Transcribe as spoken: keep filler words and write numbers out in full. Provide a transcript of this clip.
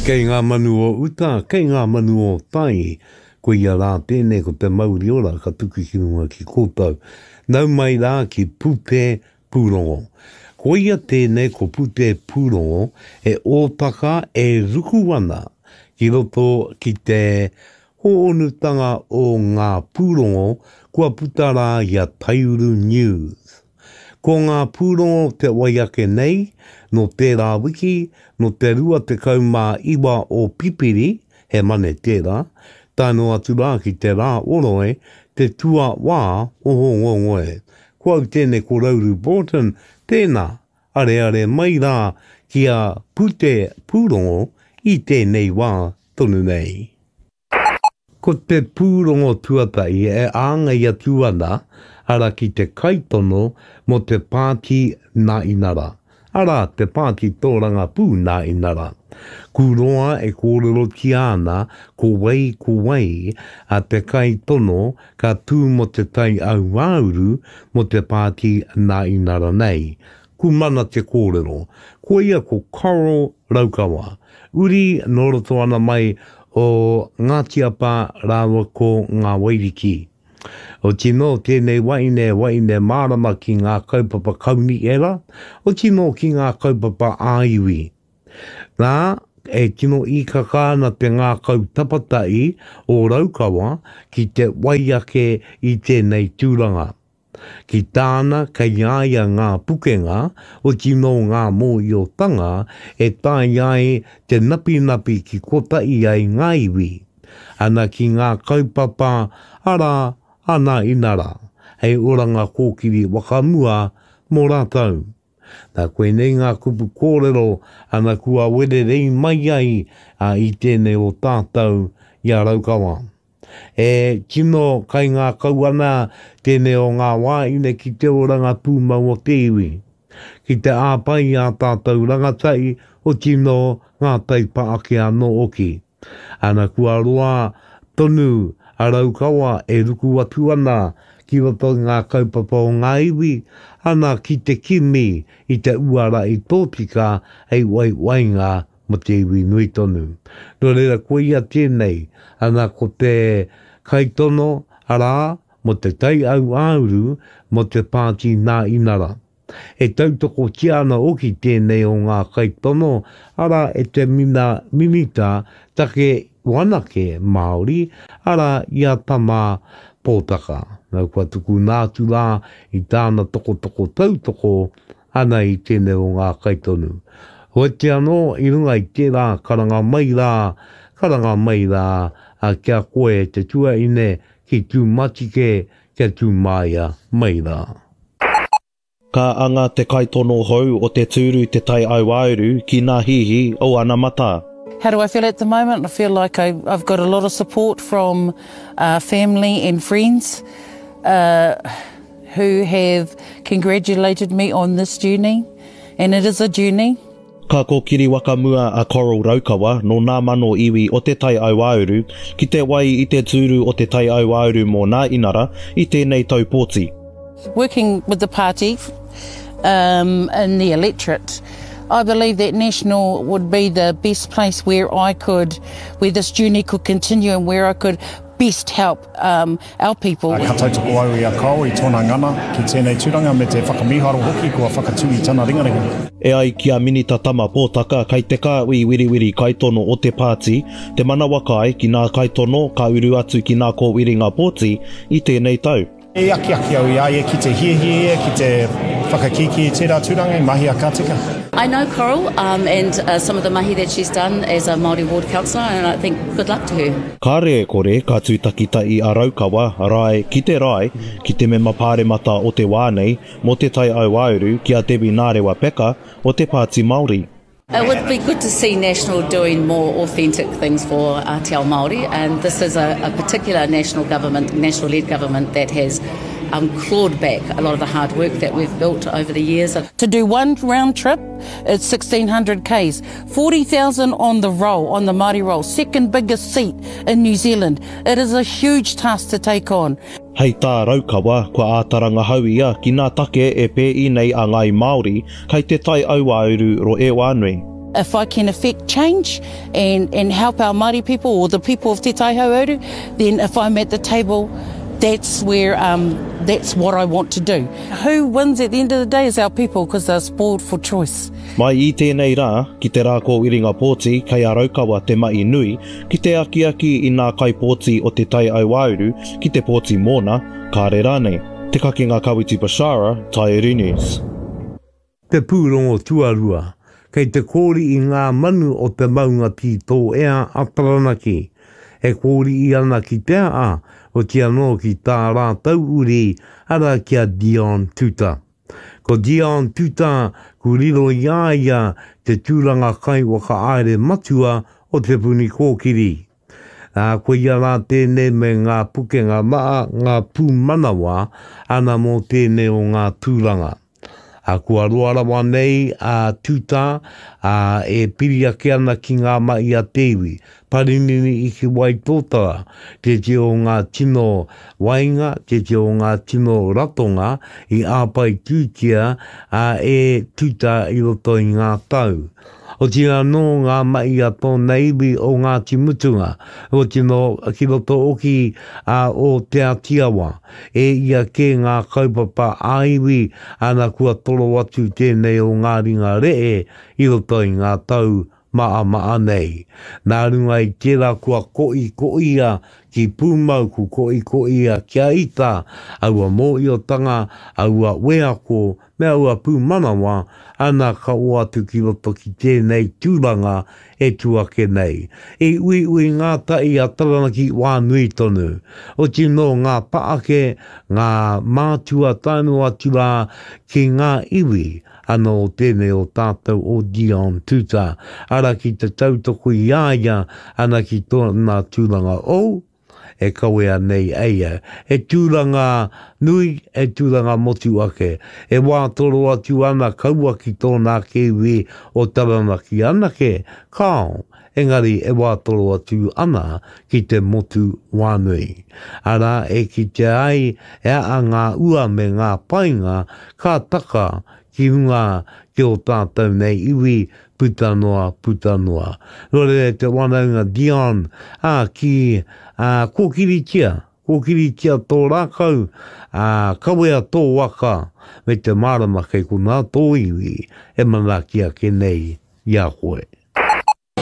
Kei ngā manu o uta, kei ngā manu o tai, ko ia rā tēnei ko te mauri ora ka tuku ki runga ki koutou. Nau mai rā ki Pute Pūrongo. Ko ia tēnei ko Pute Pūrongo e ōtaka e ruku ana ki roto ki te hoonutanga o ngā pūrongo kua puta rā i a Taiuru News. Ko ngā pūrongo te wai ake nei, no tērā wiki, no te rua tekau mā iwa o Pipiri, he mane tērā, tae noa atu rā ki te rā oroe, te tua wā o Hōngongoi. Ko au tēnei ko Rauru Broughton, tēnā, areare mai rā ki a Pute Pūrongo i tēnei wā tonu nei. Ko te pūrongo tuatahi e āngai atu ana, ara ki te kaitono mō te pāti nā inara. Ara, te pāti tōrangapū nā inara. Kūroa e kōrerotia ana ko wai ko wai a te kaitono ka tū mō te tai auāuru mō te pāti nā inara nei. Kumana te kōrero. Koia ko Coral Raukawa. Uri nō roto ana mai o Ngāti Apa rāua ko Ngā Wairiki. O tino tēnei waine, waine mārama ki ngā kaupapa kaunihera, o tino ki ngā kaupapa ā-iwi. Nā, e tino īkaka ana te ngākau tapatai o Raukawa ki te wai ake i tēnei tūranga. Ki tāna kei a ia ngā pukenga, o tino ngā mōhiotanga e tae ai te napinapi ki kotahi ai ngā iwi. Ana ki ngā kaupapa ara ana inara, hei oranga kōkiri wakamua mō rātou. Nā koinei ngā kupu kōrero ana kua wererei mai ai a, i tēnei o tātou i a Raukawa. E tino kaingākau ana tēnei o ngā wāhine ki te oranga pūmau o te iwi. Ki te āpai i a tātou rangatahi o tino ngā taipa ake anō oki. Ana kua roa tonu a Raukawa e ruku atu ana ki roto i ngā kaupapa o ngā iwi, ana ki te kimi i te uara i tōtika hei waiwainga mō te iwi nui tonu. Nō reira koia tēnei, ana ko te kaitono, arā, mō te tai auāuru, mō te pāti nā inara. E tautokotia ana oki tēnei o ngā kaitono, arā, e te mina minita take wanake Māori, arā, i a Tama Pōtaka. Nā, kua tukuna atu rā i tāna tokotoko tautoko ana i tēnei o ngā kaitonu. Hoeti anō, i runga i tērā karanga mai rā, karanga mai rā, a kia koe te tuaine ki tū matike, kia tū māia mai rā. Ka anga te kaitono hou o te tūru te tai auāuru ki ngā hihi o anamata. How do I feel at the moment? I feel like I, I've got a lot of support from uh, family and friends uh, who have congratulated me on this journey. And it is a journey. Ka kōkiri wakamua a Coral Raukawa nō ngā mano iwi o te tai auāuru ki te wai i te tūru o te tai auāuru mō nā inara i tēnei tau pōti. Working with the party um, in the electorate, I believe that National would be the best place where I could, where this journey could continue and where I could best help um, our people. Ka tautoko au i a Coral i tōna ngana ki tēnei tūranga me te whakamīharo hoki kua whakatū i tana ringaringa. E ai ki a Minita Tama Pōtaka kei te kāhui wiriwiri kaitono o te pāti, te manawa kai ki ngā kaitono ka uru atu ki ngā kōwiringa pōti i tēnei tau. E akiaki au i a ia ki te hiahia, ki te whakakīkī i tērā tūranga i mahi a ka tika. I know Coral um, and uh, some of the mahi that she's done as a Māori ward councillor, and I think good luck to her. Kāre e kore ka tūtakitai a Raukawa, rae ki te rae, ki te mema pāremata o te wā nei, mō te tai auāuru ki a Debbie Nārewa Peka o te Pāti Māori. It would be good to see National doing more authentic things for uh, Te Ao Māori, and this is a, a particular national government, national-led government that has um, clawed back a lot of the hard work that we've built over the years. To do one round trip, it's sixteen hundred k's, forty thousand on the roll, on the Māori roll, second biggest seat in New Zealand. It is a huge task to take on. Hei tā Raukawa, kua ātaranga hau ia ki ngā take e pēi nei a Ngāi Māori kei te tai auāuru ro e wānui. If I can affect change and, and help our Māori people or the people of Te Tai Hauāuru, then if I'm at the table, that's where um, that's what I want to do. Who wins at the end of the day is our people because they're spoiled for choice. Mai i tēnei rā, ki te rā kōwiringa pōti, kei a Raukawa te mahi nui, ki te akiaki i ngā kaipōti o Te Tai Hauāuru, ki te pōti mōna, kāre rānei. Te Kakenga Kawiti Bashara, Taiuru News. Te pūrongo tuarua, kei te kōri i ngā manu o te maunga tītōea a Taranaki. E kōri i ana ki te a, o te anō ki tā rātou uri, ara ki a Dion Tuta. Ko Dion Tuta, ku riro i a ia te tūranga kai whakahaere matua o Te Puni Kōkiri. Ā, ko ia rā tēnei me ngā pukenga maa, ngā pūmanawa, ana mō tēnei o ngā tūranga. A kua roa rawa nei a Tuta, a e piri ake ana ki ngā mahi a te iwi. Parinini i ki Waitōtara, te te o ngā tino wainga, te te o ngā tino ratonga i āpai tūtia a e Tuta i roto i ngā tau. O tira nō ngā mahi a tōna iwi o Ngāti Mutunga, o tino ki roto oki a o Te Atiawa. E ia ke ngā kaupapa ā-iwi ana kua toro atu tēnei o ngā ringa re'e i roto i ngā tau maa maa nei. Nā runga i tērā kua koi koia ki pūmau, ku koi koia kia ita, aua mōiotanga, aua weako, me aua pūmanawa, ana ka o atu ki roto ki tēnei tūranga e tuake nei. E ui ui ngā tai a Taranaki wā nui tonu. O tino ngā paake, ngā mātua taino atu rā ki ngā iwi, ana o tēnei o tātou o Dion Tuta. Ara ki te tautoko i a ia, ana ki tōna tūranga o, e kawea nei eia. E tūranga nui, e tūranga motu ake. E wā toro atu ana kaua ki tōna ake iwi o Taranaki anake, kao, engari e wā toro atu ana ki te motu wānui. Ara e ki te ai e a ngā ua me ngā painga ka taka ki runga ki o tātou nei iwi puta noa, puta noa. Nō reira te wanaunga Dion, a, ki a, kōkiritia, kōkiritia tō rākau, a, kawea tō waka, me te mārama kei konā tō iwi e manaaki ake nei i a koe.